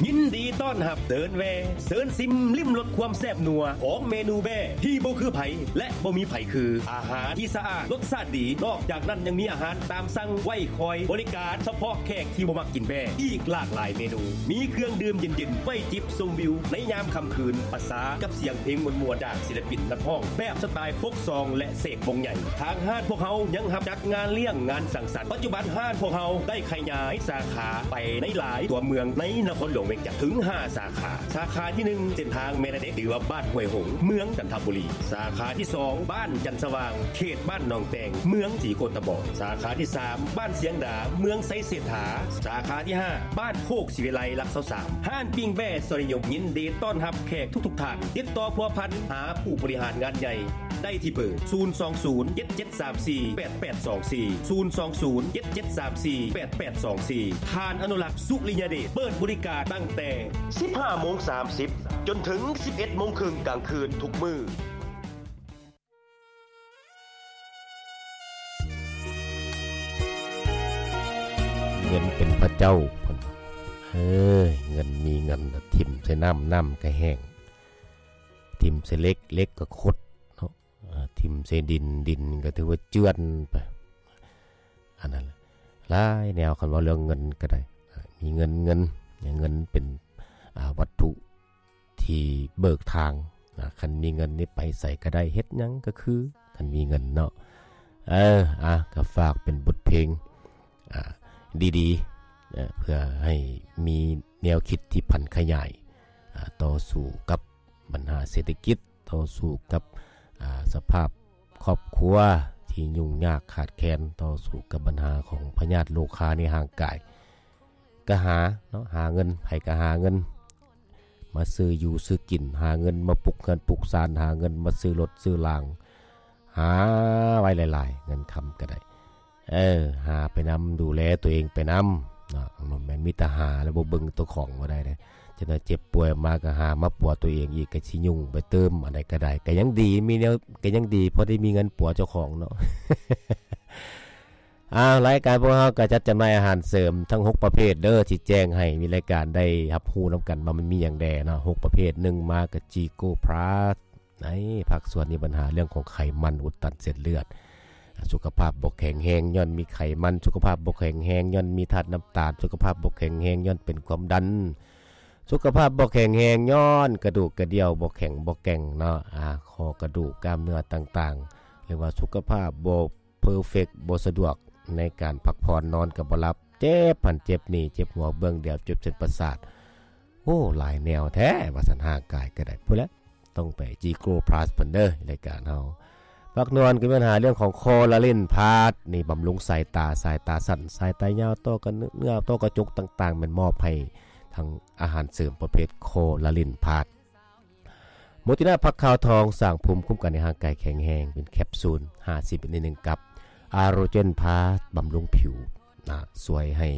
ຍິນດີຕ້ອນຮັບເດີນແວ່ ເຊີນຊິມລິມລົດຄວາມແຊບນົວຂອງເມນູແບ້ທີ່ບໍ່ຄືໃຜ ແລະ ບໍ່ມີໃຜຄື. ອາຫານທີ່ສະອາດ ລົດຊາດດີ, ນອກຈາກນັ້ນຍັງມີອາຫານຕາມສັ່ງໄວ້ຄອຍບໍລິການສະເພາະແຂກທີ່ບໍ່ມັກກິນແບ້ ອີກຫຼາກຫຼາຍເມນູ. ມີເຄື່ອງດື່ມເຢັນໆ ໄວ້ຈິບຊົມວິວໃນຍາມຄ່ຳຄືນ ປະສານກັບສຽງເພງມ່ວນໆ ຈາກສິລະປິນນັກຮ້ອງແບບສະໄຕລ໌ໂຟກຊອງ ແລະ ເສກວົງໃຫຍ່. ທາງຮ້ານພວກເຮົາຍັງຮັບຈັດງານລ້ຽງ, ງານສັງສັນ. ປັດຈຸບັນຮ້ານພວກເຮົາໄດ້ຂະຫຍາຍສາຂາໄປໃນຫຼາຍຕົວເມືອງໃນນະຄອນຫຼວງວຽງຈັນ ເຖິງຫ້າສາຂາ. ສາຂາທີໜຶ່ງ ເສັ້ນທາງແມ່ນາເດັກ ຫຼືວ່າບ້ານຫ້ວຍຫົງ ເມືອງຈັນທະບູລີ. ສາຂາທີສອງ ບ້ານຈັນສະຫວ່າງ ເຂດບ້ານໜອງແຕງ ເມືອງສີໂຄດຕະບອງ. ສາຂາທີສາມ ບ້ານຊຽງດາ ເມືອງໄຊເສດຖາ. ສາຂາທີຫ້າ ບ້ານໂຄກສີວິໄລ ຫຼັກຊາວສາມ. ຮ້ານປີ້ງແບ້ຊອຍນິຍົມ ຍິນດີຕ້ອນຮັບແຂກທຸກໆທ່ານ. ຕິດຕໍ່ພົວພັນຫາຜູ້ບໍລິຫານງານໃຫຍ່ໄດ້ທີ່ເບີ ສູນສອງສູນ ເຈັດເຈັດສາມສີ່ ແປດແປດສອງສີ່ ສູນສອງສູນ ເຈັດເຈັດສາມສີ່ ແປດແປດສອງສີ່. ທ່ານອະນຸລັກ ສຸລິຍະເດດ ເປີດບໍລິການຕັ້ງແຕ່ສິບຫ້າໂມງສາມສິບ ຈົນເຖິງສິບເອັດໂມງເຄິ່ງກາງຄືນທຸກມື້. ເງິນເປັນພະເຈົ້າ ເພິ່ນວ່າ. ເອີຍ ເງິນມີເງິນ ຖິ້ມໃສ່ນ້ຳ ນ້ຳກໍແຫ້ງ, ຖິ້ມໃສ່ເຫຼັກ ເຫຼັກກໍຂົດເນາະ, ຖິ້ມໃສ່ດິນ ດິນກໍຖືວ່າເຈື່ອນໄປ. ອັນນັ້ນຫຼາຍແນວ ຄັນເວົ້າເລື່ອງເງິນກໍໄດ້. ມີເງິນ ເງິນ ເງິນເປັນ ອ່າ ວັດຖຸ ທີ່ເບີກທາງນະ. ຄັນມີເງິນນີ້ໄປໃສກໍໄດ້ ເຮັດຫຍັງກໍຄື ຄັນມີເງິນເນາະ. ເອີ ອາ ກໍຝາກເປັນບົດເພງ ອາ ດີໆ ເພື່ອໃຫ້ມີແນວຄິດທີ່ຜັນຂະຫຍາຍ ອາ ຕໍ່ສູ້ກັບບັນຫາເສດຖະກິດ, ຕໍ່ສູ້ກັບ ອາ ສະພາບຄອບຄົວທີ່ຫຍຸ້ງຍາກຂາດແຄນ, ຕໍ່ສູ້ກັບບັນຫາຂອງພະຍາດໂລຄາໃນຮ່າງກາຍ. ກໍຫາເນາະ ຫາເງິນ ໃຜກໍຫາເງິນມາຊື້ຢູ່ຊື້ກິນ, ຫາເງິນມາປຸກເຮືອນປຸກຊານ, ຫາເງິນມາຊື້ລົດຊື້ລາງ, ຫາໄວ້ຫຼາຍໆ ເງິນຄຳກໍໄດ້. ເອີ ຫາໄປນຳ ດູແລຕົວເອງໄປນຳເນາະ, ບໍ່ແມ່ນມີແຕ່ຫາແລ້ວບໍ່ເບິ່ງເຈົ້າຂອງບໍ່ໄດ້ເດ້. ຈັກໜ້ອຍເຈັບປ່ວຍມາກໍຫາມາປົວຕົວເອງອີກ ກໍຊິຫຍຸ້ງໄປຕື່ມ. ອັນໃດກໍໄດ້ ກໍຍັງດີ ມີແນວ ກໍຍັງດີ ພໍໄດ້ມີເງິນປົວເຈົ້າຂອງເນາະ. ອ້າວ ລາຍການພວກເຮົາກໍຈັດຈຳໜ່າຍອາຫານເສີມທັງຫົກປະເພດເດີ ທີ່ແຈ້ງໃຫ້ມີລາຍການໄດ້ຮັບຮູ້ນຳກັນວ່າມັນມີຫຍັງແດ່ເນາະ ຫົກປະເພດ. ໜຶ່ງມາກໍຈີໂກພລັສ ໃນພາກສ່ວນມີບັນຫາເລື່ອງຂອງໄຂມັນອຸດຕັນເສັ້ນເລືອດ, ສຸຂະພາບບໍ່ແຂງແຮງຍ້ອນມີໄຂມັນ, ສຸຂະພາບບໍ່ແຂງແຮງຍ້ອນມີທາດນ້ຳຕານ, ສຸຂະພາບບໍ່ແຂງແຮງຍ້ອນເປັນຄວາມດັນ, ສຸຂະພາບບໍ່ແຂງແຮງຍ້ອນກະດູກກະດ່ຽວບໍ່ແຂງບໍ່ແກ່ງເນາະ, ອາ ຂໍ້ກະດູກ ກ້າມເນື້ອຕ່າງໆ ຫຼືວ່າສຸຂະພາບບໍ່ ເພີເຟັກ ບໍ່ສະດວກໃນການພັກຜ່ອນ, ນອນກໍບໍ່ຫຼັບ, ເຈັບຫັ້ນເຈັບນີ້, ເຈັບຫົວເບື້ອງດຽວ, ເຈັບເສັ້ນປະສາດ. ໂອ້ ຫຼາຍແນວແທ້ວ່າຊັ້ນ, ຮ່າງກາຍກໍໄດ້. ພຸ້ນແຫຼະ ຕ້ອງໄປຈີໂກພລັສເພິ່ນເດີ, ລາຍການເຮົາ. ພາກນອນກໍມີບັນຫາເລື່ອງຂອງຄໍລາເລນພລັສ, ນີ້ບຳລຸງສາຍຕາ, ສາຍຕາສັ້ນ, ສາຍຕາຍາວ, ຕ້ອກະເນື້ອ, ຕ້ອກະຈົກຕ່າງໆ, ແມ່ນມອບໃຫ້ທັງອາຫານເສີມປະເພດຄໍລາເລນພລັສ. ໂມຕິນາຜັກຂາວທອງ ສ້າງພູມຄຸ້ມກັນໃຫ້ຮ່າງກາຍແຂງແຮງ ເປັນແຄບຊູນ ຫ້າສິບ ໃນໜຶ່ງກັບ. ອາໂຣເຈນພລັສ ບຳລຸງຜິວນະ, ຊ່ວຍໃຫ້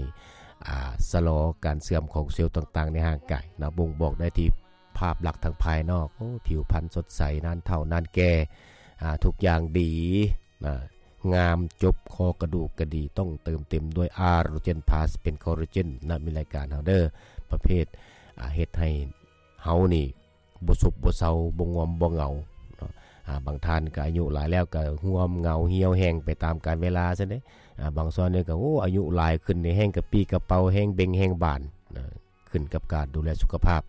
ອາ ຊະລໍການເສື່ອມຂອງເຊວຕ່າງໆໃນຮ່າງກາຍນະ, ບົ່ງບອກໄດ້ທີ່ພາບລັກທາງພາຍນອກ, ໂອ້ ຜິວພັນສົດໃສ, ນານເຖົ້ານານແກ່, ອາ ທຸກຢ່າງດີນະ, ງາມຈົບ, ຂໍ້ກະດູກກະດີ, ຕ້ອງເຕີມເຕັມດ້ວຍອາໂຣເຈນພລັສ ເປັນຄໍລາເຈນນະ, ມີລາຍການເຮົາເດີ ປະເພດ ອາ ເຮັດໃຫ້ເຮົານີ້ ບໍ່ຊຸບບໍ່ເຊົາ, ບໍ່ງອມບໍ່ເຫງົາເນາະ. ອາ ບາງທ່ານກໍອາຍຸຫຼາຍແລ້ວກໍຮ່ວມເຫງົາຫ່ຽວແຫ້ງໄປຕາມການເວລາຊັ້ນເດ້. ອາ ບາງສ່ວນນີ້ກໍ ໂອ້ ອາຍຸຫຼາຍຂຶ້ນນີ້ແຮງກະປີ້ກະເປົາ, ແຮງເບັ່ງແຮງບານນະ, ຂຶ້ນກັບການດູແລສຸຂະພາບ.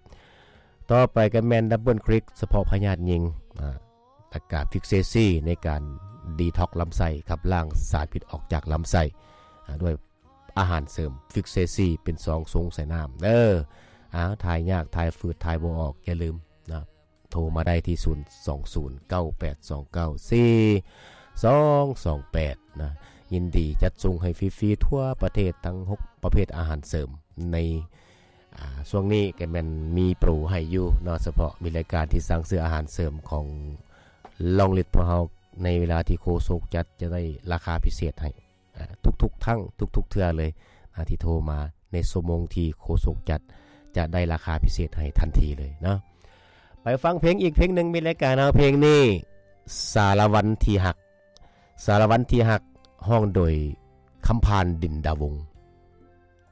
ຕໍ່ໄປກໍແມ່ນດັບເບິນຄຣິກ ສະເພາະພະຍາດຍິງ, ອາ ແລ້ວກະຟິກເຊຊີ ໃນການດີທັອກລຳໄສ້, ຂັບລ້າງສານພິດອອກຈາກລຳໄສ້ ອາ ດ້ວຍ ອາຫານເສີມຟິກເຊຊີ ເປັນຊອງຊົງໃສ່ນ້ຳເດີ. ອ້າວ ຖ່າຍຍາກ ຖ່າຍຝືດ ຖ່າຍບໍ່ອອກ ຢ່າລືມນະ, ໂທມາໄດ້ທີ່ ສູນສອງສູນ ເກົ້າແປດສອງເກົ້າ ສີ່ສອງສອງແປດ ນະ. ຍິນດີຈັດສົ່ງໃຫ້ຟຣີໆທົ່ວປະເທດ ທັງຫົກປະເພດອາຫານເສີມ. ໃນ ອາ ຊ່ວງນີ້ກໍແມ່ນມີໂປຣໃຫ້ຢູ່ເນາະ, ສະເພາະມີລາຍການທີ່ສັ່ງຊື້ອາຫານເສີມຂອງລອງລິດພວກເຮົາ ໃນເວລາທີ່ໂຄສົກຈັດຈະໄດ້ລາຄາພິເສດໃຫ້. ອາ ທຸກໆຄັ້ງ ທຸກໆເທື່ອເລີຍ ອາ ທີ່ໂທມາໃນຊົ່ວໂມງທີ່ໂຄສົກຈັດ ຈະໄດ້ລາຄາພິເສດໃຫ້ທັນທີເລີຍເນາະ. ໄປຟັງເພງອີກເພງໜຶ່ງ ມີລາຍການເຮົາເພງນີ້ ສາລະວັນທີ່ຮັກ. ສາລະວັນທີ່ຮັກ ຮ້ອງໂດຍຄຳພານ ດິນດາວົງ.